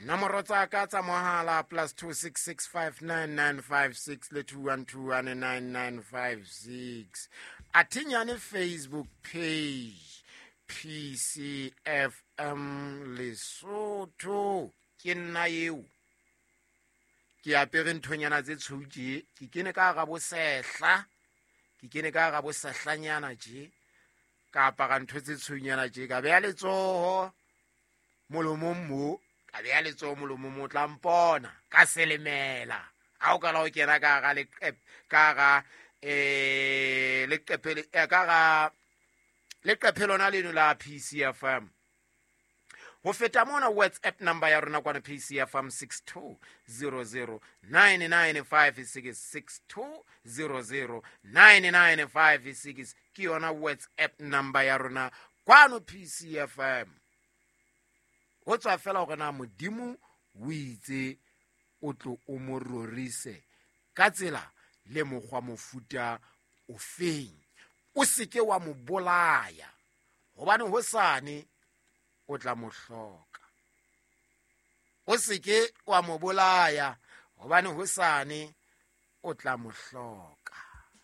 Nomoro tsa ka tsa mohala plus 26659956 le 21219956. Athinyane Facebook page PCFM Lesotho. Ke nna eo. Ke apere nthonyana tse tshweu tje, ke kene ka hara bosehla, ke kene ka hara bosehlanyana tje, ka apara ntho tse tshweunyana tje, ka beha letsoho molomong mo, ka beha letsoho molomong mo, tla mpona ka selemela. Ha o kala o kena ka hara leqephe, ka hara leqephe le, ka hara leqephe lona leno la PCFM. Ho feta mona, WhatsApp number ya rona kwana PCFM 62009956, 62009956 ke yona WhatsApp number ya rona kwano PCFM. Ho tswa fela hore na Modimo o itse o tlo o mo rorise ka tsela le mokgwa mofuta ofeng. O seke wa mo bolaya, hobane hosane o tla mo hloka. O seke wa mo bolaya, hobane hosane o tla mo hloka.